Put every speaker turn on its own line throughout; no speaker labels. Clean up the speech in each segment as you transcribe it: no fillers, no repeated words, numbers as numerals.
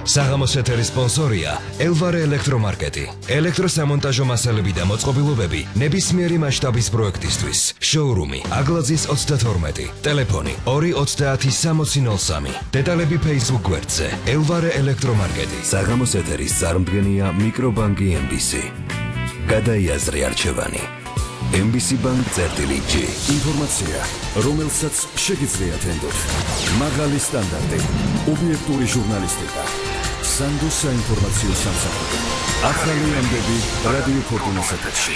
საღამოს ეთერის სპონსორია ელვარე ელექტრომარკეტი. ელექტროსამონტაჟო მასალები და მოწყობილობები ნებისმიერი მასშტაბის პროექტისთვის. შოურუმი აგლაძის 32. ტელეფონი 230-6003. დეტალები Facebook გვერდზე ელვარე ელექტრომარკეტი. საღამოს ეთერის წარმდგენია მიკრობანკი MBC. გადაიაზრე არჩევანი. MBC Bank წერტილი-G. ინფორმაცია, რომელსაც შეგიძლიათ ენდოთ. მაღალი სტანდარტი, ობიექტური ჟურნალისტიკა. სანდო საინფორმაციო სამსახური. ახალი ამბები რადიო ფორტუნას ეთერში.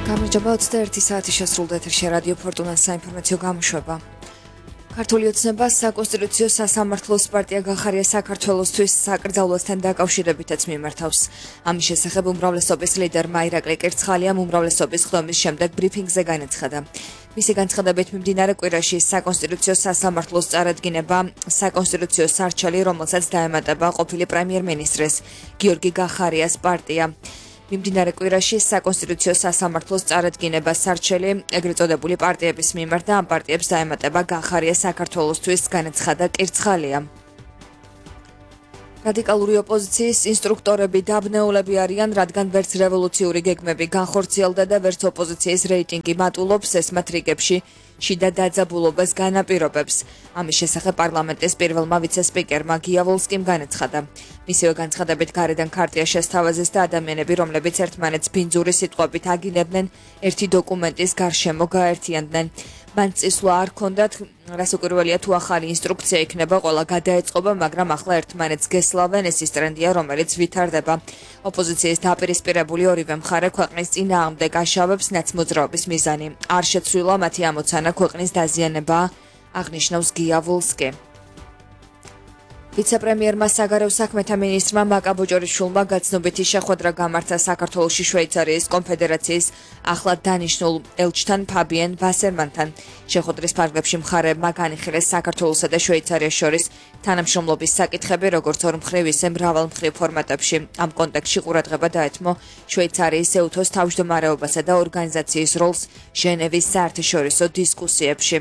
გამარჯობა 21 საათი შესრულდა ეთერში რადიო ფორტუნას საინფორმაციო გამოშვება. ქართული ოცნება საკონსტიტუციო სასამართლოს პარტია გახარია საქართველოსთვის საკრძალვასთან დაკავშირებითაც მიმართავს. ამის შესახებ უმრავლესობის ლიდერმა ირაკლი კერცხალიამ უმრავლესობის ხდომის შემდეგ ბრიფინგზე განაცხადა. მისი განცხადებით მიმდინარე კვირაში საკონსტიტუციო სასამართლოს წარადგინება საკონსტიტუციო სარჩელი, რომელსაც დაემატება ყოფილი პრემიერ-მინისტრის გიორგი გახარიას პარტია. მიმდინარე კვირაში საკონსტიტუციო სასამართლოს წარადგინება სარჩელი ეგრეთ წოდებული პარტიების მიმართ და ამ პარტიებს დაემატება გახარია საქართველოსთვის, განაცხადა კერცხალიამ. რადიკალური ოპოზიციის ინსტრუქტორები დაბნეულები არიან, რადგან ვერც რევოლუციური გეგმები განხორციელდა და ვერც ოპოზიციის რეიტინგი მატულობს, ეს მათ რიგებში შიდა დაძაბულობას განაპირობებს. ამის შესახებ პარლამენტის პირველმა ვიცე-სპიკერმა გიავოლსკიმ განაცხადა. მისივე განცხადებით გარედან ქარტია შესთავაზეს და ადამიანები, რომლებიც ერთმანეთს ბინძური სიტყვებით აგინებდნენ, ერთი დოკუმენტის გარშემო გაერთიანდნენ. მან წისვლა არ ჰქონდათ, რას უკურველია თუ ახალი ინსტრუქცია იქნება, ყველა გადაეწყობა, მაგრამ ახლა ერთმანეთს გესლავენ, ეს ის ტრენდია, რომელიც ვითარდება. ოპოზიციის დაპირისპირებული ორივე მხარე ქვეყნის წინააღმდეგ აშავებს ნაცმოძრაობის მიზანი. არ შეცვლილა მათი ამოცანა ქვეყნის დაზიანება, აღნიშნავს გიავოლსკი. ვიცე-პრემიერმა საგარეო საქმეთა მინისტრმა მაკა ბოჭორიშვილმა გაცნობიტი შეხვედრა გამართა საქართველოში შვეიცარიის კონფედერაციის ახლად დანიშნულ ელჩთან ფაბიენ ვასერმანთან. შეხვედრის ფარგლებში მხარეებმა განიხილეს საქართველოსა და შვეიცარიას შორის თანამშრომლობის საკითხები, როგორც ორმხრივ, ისე მრავალმხრივ ფორმატებში. ამ კონტექსტში ყურადღება დაეთმო შვეიცარიის ეუთოს თავმჯდომარეობასა და ორგანიზაციის როლს ჟენევის საერთაშორისო დისკუსიებში.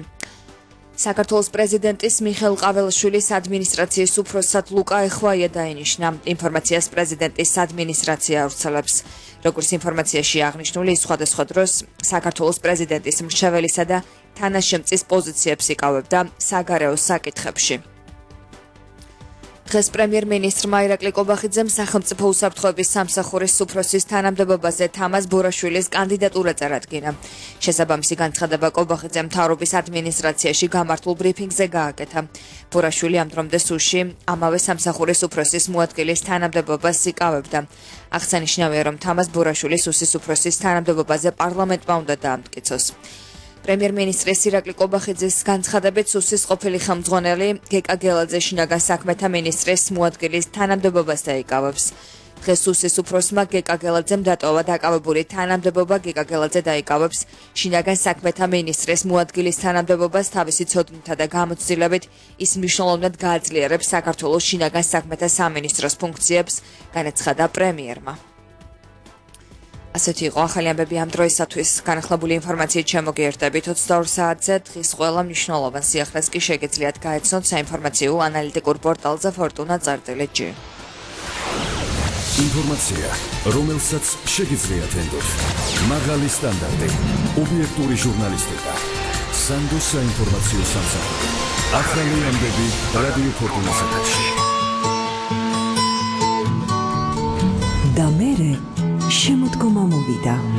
საქართველოს პრეზიდენტის მიხეილ ყაველაშვილის ადმინისტრაციის უფროსად ლუკა ეხვაია დაინიშნა. ინფორმაციას პრეზიდენტის ადმინისტრაცია ავრცელებს. როგორც ინფორმაციაში აღნიშნული, სხვადასხვა დროს საქართველოს პრეზიდენტის მრჩეველისა და თანაშემწის პოზიციებს იკავებდა საგარეო საკითხებში. დღეს პრემიერ-მინისტრმა ირაკლი კობახიძემ სახელმწიფო უსაფრთხოების სამსახურის უფროსის თანამდებობაზე თამაზ ბორაშვილის კანდიდატურა წარადგინა. შესაბამისი განცხადება კობახიძემ მთავრობის ადმინისტრაციაში გამართულ ბრიფინგზე გააკეთა. ბორაშვილი ამ დრომდე სუში ამავე სამსახურის უფროსის მოადგილის თანამდებობას იკავებდა. აღსანიშნავია, რომ თამაზ ბორაშვილის უსის უფროსის თანამდებობაზე პარლამენტმა უნდა დაამტკიცოს. პრემიერ-მინისტრის ირაკლი კობახიძის განცხადებით სუსის ყოფილი ხელმძღვანელი გეკა გელაძე შინაგან საქმეთა მინისტრის მოადგილის თანამდებობას დაიკავებს. დღეს სუსის უფროსმა გეკა გელაძემ დატოვა დაკავებული თანამდებობა, გეკა გელაძე დაიკავებს შინაგან საქმეთა მინისტრის მოადგილის თანამდებობას თავისი ცოდნითა და გამოცდილებით ის მნიშვნელოვნად გააძლიერებს საქართველოს შინაგან საქმეთა სამინისტროს ფუნქციებს, განაცხადა პრემიერმა. ასეთი იყო ახალი ამბები ამ დროისათვის. განახლებული ინფორმაციით შემოგიერთდებით 22 საათზე. დღის ყველა მნიშვნელოვან სიახლეს კი შეგეძლიათ გაეცნოთ საინფორმაციო ანალიტიკურ პორტალზე fortuna.gr.
ინფორმაცია, რომელსაც შეგეძლიათ ენდოთ. მაღალი სტანდარტი, ობიექტური ჟურნალისტიკა. სანდო საინფორმაციო სამსახური. ახალი ამბები რადიო ფორტუნას ეთერში.
და მერე შემოდგომა მოვიდა.